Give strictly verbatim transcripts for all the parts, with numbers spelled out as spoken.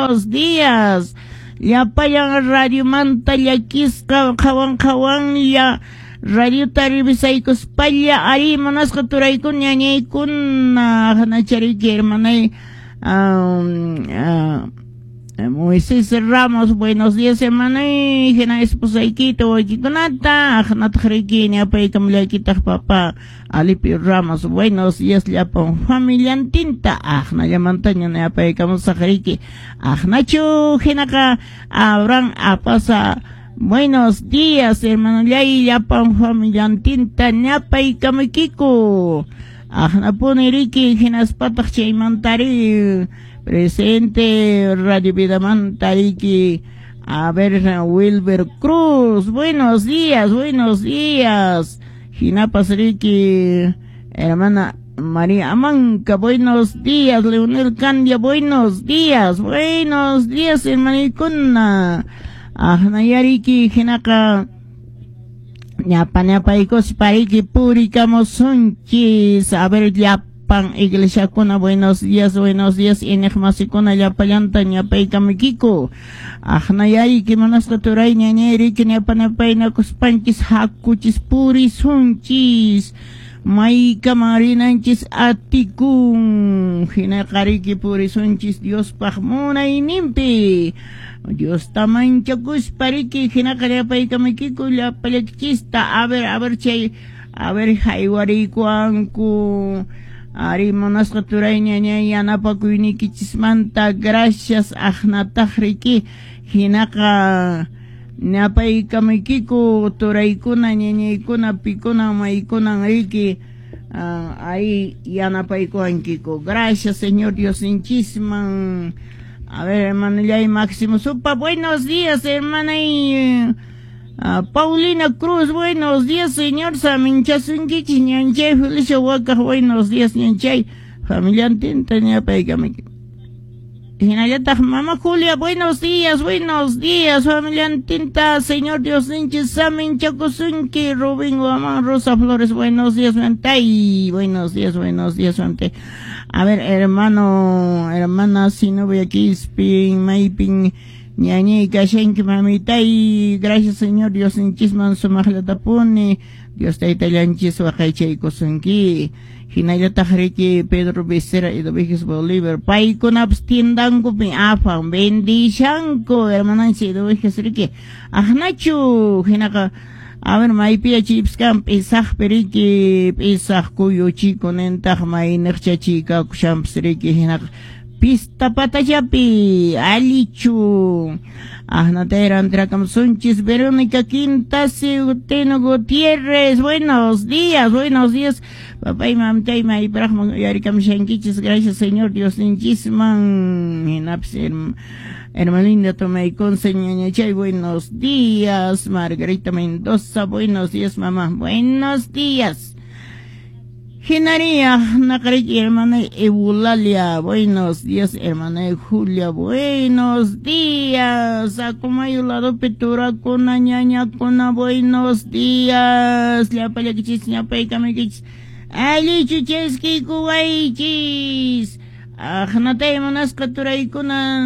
Buenos días. Llapallan radiomanta llakisqa qhawan qhawanlla radiota revisaykuspalla ari munasqa turaykuna ñañaykuna hanachariki hermanay um, uh, Moisés Ramos, buenos días hermanay, hina esposaykita wawaykikunata, aqnataq riki ñapaykamullaykitaq papá Alipio Ramos, buenos días llapan familiantinta, aqnallamantaña ñapaykamusaq riki, aqnachu hinaqa Abraham Apasa, buenos días hermanollay llapan familiantinta ñapaykamukiku, aqnapuni riki hinaspataq chaymantari presente Radio Vidamanta riki, a ver Wilber Cruz, buenos días, buenos días, hinapas riki, hermana María Amanca, buenos días, Leonel Candia, buenos días, buenos días, hermanikuna, aqnayariki hinaqa ñapa ñapaykuspa riki purikamusunchis, a ver llapan iglesiakuna, buenos días, buenos días, iñiqmasikuna llapallanta ñapaykamukiku, aqnayariki munasqa turay ñañay riki ñapa ñapaynakuspanchis hakuchis purisunchis, maykaman rinanchis atikun, hinaqa riki purisunchis Diospaq munayninpi, Diosta manchakuspa riki hinaqa llapaykamukiku llapallaykichista, a ver, a ver chay, a ver haywariykuwanku, ari munasqa turay ñañay yanapakuyniykichismanta, gracias aqnataq riki, hinaqa ñapaykamukiku turaykuna ñañaykuna pikuna maykunan riki, uh, ahí yanapaykuwankiku, gracias Señor Diosninchisman. A ver, hermanallay Máximo Supa, buenos días, hermana y uh, Paulina Cruz, buenos días, señor Saminchasunkichis, ñanchay, Felicia Huacaj, buenos días, ñanchay, familiantinta ñapaykamiki. Hinallataq Mama Julia, buenos días, buenos días, familiantinta, Señor Diosninchis, saminchakusunki, Rubén Guamán, Rosa Flores, buenos días, mantay, buenos días, buenos días, mantay. A ver, hermano, hermana, si no voy aquí, spin, maypin, ñañay, kashanki, mamitay, gracias, Señor Diosninchisman, sumaqllatapuni, Dios taytallanchis waqaychaykusunki. Hinallataq riki Pedro Becerra y Eduviges Bolívar, paykunapas tiendankupi afan, bendishanku, hermananchis Eduviges riki, aqnachu, hinaqa, a ver, maypiya chaypis kan p'isaqpi riki, p'isaq kuyuchiku nintaq mayniqcha chikakushanpas riki, hinaqa pista patallapi, allichu, aqnatayra antirakamusunchis, Verónica Quintasi, Teno Gutiérrez, buenos días, buenos días, papá y mamtay mayparaqman uyarikamushankichis, gracias Señor Diosninchisman, hinapis hermaninda Tomayconce ñañachay, buenos días, Margarita Mendoza, buenos días mamá, buenos días. Hinaria, naqariki hermana Eulalia, buenos días hermana Julia, buenos días, Acomayo ladopi turakuna ñañakuna, buenos días, llapallakichis ñapaykamaykichis, allichu chaskiykuwaychis, aqnatay munasqa turaykuna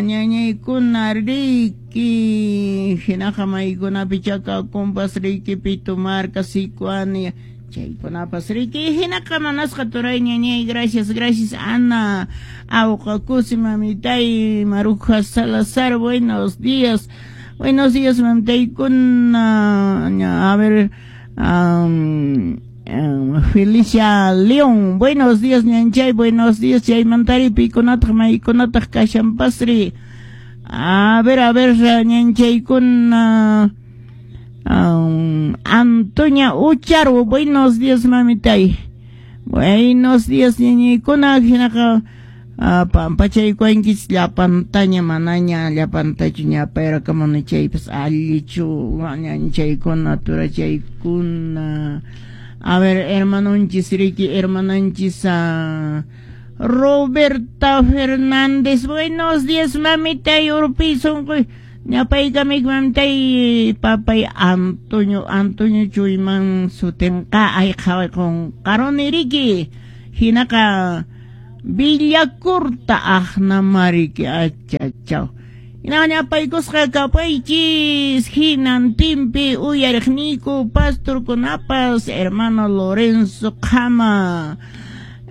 ñañaykuna riki, hinaqa maykunapi chakakunpas riki Pitumarca, Sicuani, chaykunapas riki, hinaqa munasqa turay ñañay, gracias, gracias Ana, Auqakusi mamitay, Maruja Salazar, buenos días, buenos días mamitaykuna, a ver, um, um, Felicia León, buenos días ñanchay, buenos días chaymantari pikunataq maykunataq kashanpasri, a ver, a ver ñanchaykuna, Um, Antonia Ucharwo, buenos días mamitay, buenos días ñañaykuna, hinaqa uh, pampachaykuwankichis llapantaña manaña llapantachu ñapayrakamuni chaypas allichu ñanchaykuna turachaykuna, a ver hermanonchis riki hermananchis uh, Roberta Fernández, buenos días mamitay, urpi sunquy, ñapaykamik mamtay papay Antonio, Antonio Chuyman sutinqa ay qhawayqun qaruni riki, hinaqa Villacorta aqnamariki achachaw. Hinapaykusqa kapaychis hinantinpi uyariqniyku pastorkunapas hermano Lorenzo Qama,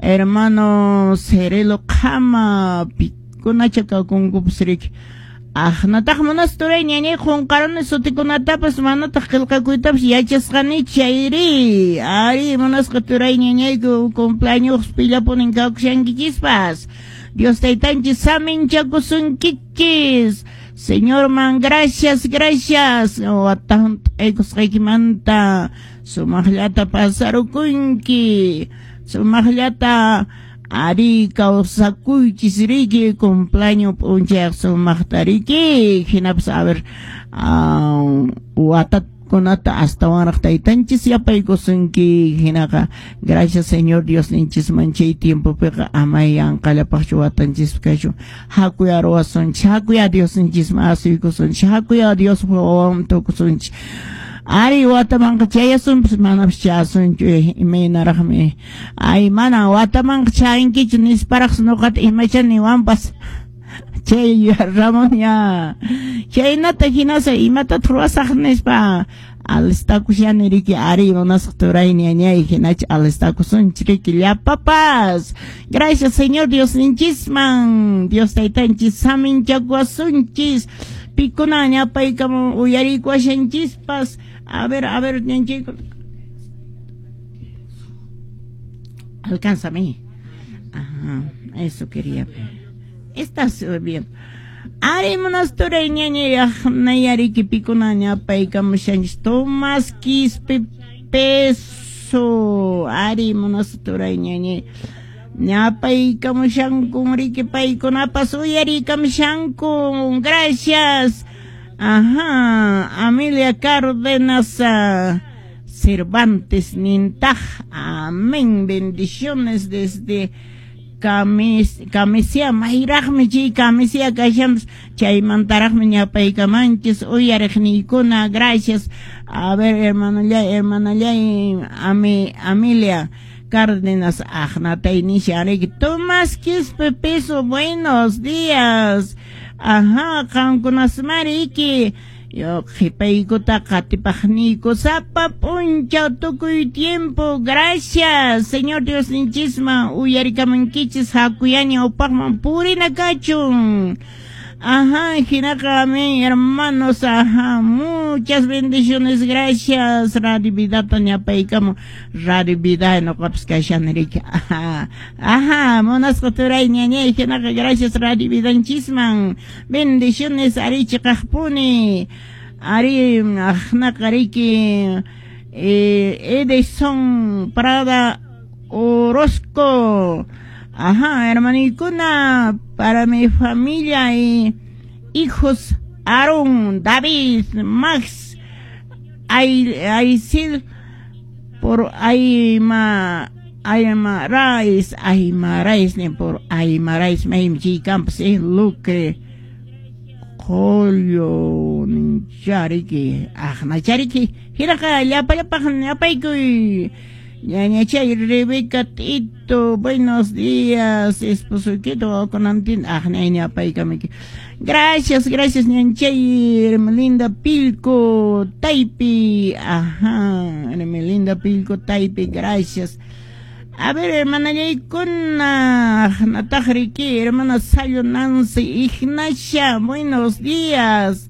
hermano Cerelo Qama, pikunacha kakunkupas riki. Aqnataq munasturay ñañay qunqaruni sutikunatapas manataq qillqakuytapas yachasqani chayri. Ari munasqa turay ñañayku cumpleaños pillapunin kawkushankichispas. Dios taytanchis saminchakusunkichis. Señor man, gracias, gracias. Watan t'aykusqaykimanta sumaqllata pasarukunki. Sumaqllata ari kawsakuychis riki cumpleaños p'unchayaq sumaqta riki. Hinapas a ver watakunata astawanraq taytanchis yapaykusunki. Hinaqa gracias Señor Dios ninchisman chay tiempopiqa amay yanqallapaqchu watanchispi kachun. Hakuya ruwasunchis, hakuya Dios ninchisman asuykusunchis, hakuya Dios wawan tukusunchis. Ari watamanqa chayasunpas manapas chayasunchu imaynaraqmi. Ay mana watamanqa chayankichu nisparaqsi nuqata imacha niwanpas. Chay Ramón ya chaynata hinasa imatataq ruwasaq nispa alistakushani riki. Ari munasqa turay ñañay hinacha alistakusunchik riki llapapas. Gracias Señor Dios ninchisman. Dios taytanchis saminchakuwasunchis. Pikuna ñapaykamu uyarikuwashanchispas. A ver, a ver, ñanchayku. Alcánzame. Ajá, eso quería ver. Estás bien. Ari munasturay ñañay aqnayariki pikuna ñapaykamushanchis. Tomás Quispe Peso. Ari munasturay ñañay. Ñapaykamushankun riki paykunapas uyarikamushankun. Gracias. Ajá, Amelia Cárdenas uh, Cervantes Nintaj. Amén. Bendiciones desde Camis, Camisia, mayraqmi chay Camisia kashanpas chaymantaraqmi ñapaykamanchis uyariqniykuna. Gracias. A ver, hermanallay, hermanallay, Ame, Amelia Cárdenas aqnatay nisha riki. Tomás Quispe Peso, buenos días. Ajá, qankunasmariki. Yo qhipaykuta qatipaqniyku sapa p'unchaw tukuy tiempo. Gracias, Señor Dios ninchisman uyarikamankichis hakuyaña upaqman purina kachun. Ajá, hinaqa amén, hermanos, ajá, muchas bendiciones, gracias. Radio Vidata ñapaykamu, Radio Vida nuqapas kashani riki. Ajá, ajá, munasqa turay ñañay, hinaqa gracias Radio Vidanchisman. Bendiciones, ari chiqaqpuni. Ari aqnaqa riki eh, Edison Prada Orozco. Ajá, hermanicuna, para mi familia y hijos Aaron, David, Max, Aisil, por Aima, Aymarais, Aymarais, ni por Aymarais, Meimchi Campos, eh, Lucre, Julio, Chariki, Ajna Chariki, Hiraka, Llapa, Llapa, Llapaykuy. Ñañachay Rebeca Tito, buenos días, esposo Quito, con Antin, ajnañapaykamiki. Gracias, gracias, ñanchay Hermelinda Pilco, Taipi, ajá, Hermelinda Pilco, Taipi, gracias. A ver, hermana Yaykuna, Natajriki, hermana Sayo Nancy, Ignacia, buenos días.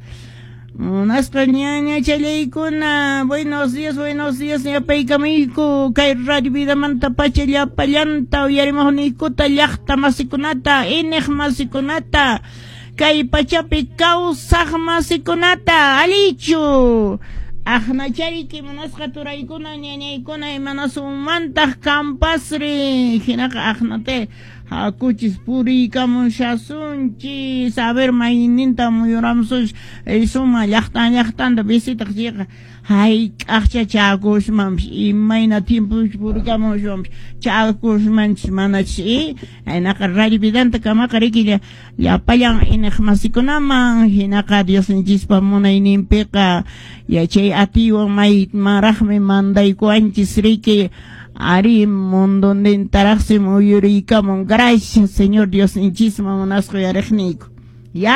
Munasqa ñañachallaykuna, buenos días, buenos días, ñapaykamayku, kay Radio Vidamanta pacha llapallanta uyarimuqniykuta llaqta masikunata, ineq masikunata, kay pachapi kawsaq masikunata, alichu. Aqnachariki munasqa turaykuna ñañaykuna imanasumantaq kampasri, hinaqa aqnate hakuchis puriykamushasunchis, a ver mayninta muyuramusunchis, suma llaqtan llaqtanta visitaq chayqa hayk'aqcha chakusmanpis imayna tiempopi puriykamuswanpis chakusmanchis manachis hinaqa Radio Vidanta kamaqa riki llapallan ineq masikunaman hinaqa Diosninchispa munayninpiqa yachay atiywan maymanraqmi mandaykuwanchis riki. Ari mundontintaraqsi muyuriykamun. Gracias, Señor Diosninchisman, munasqa uyariqniyku.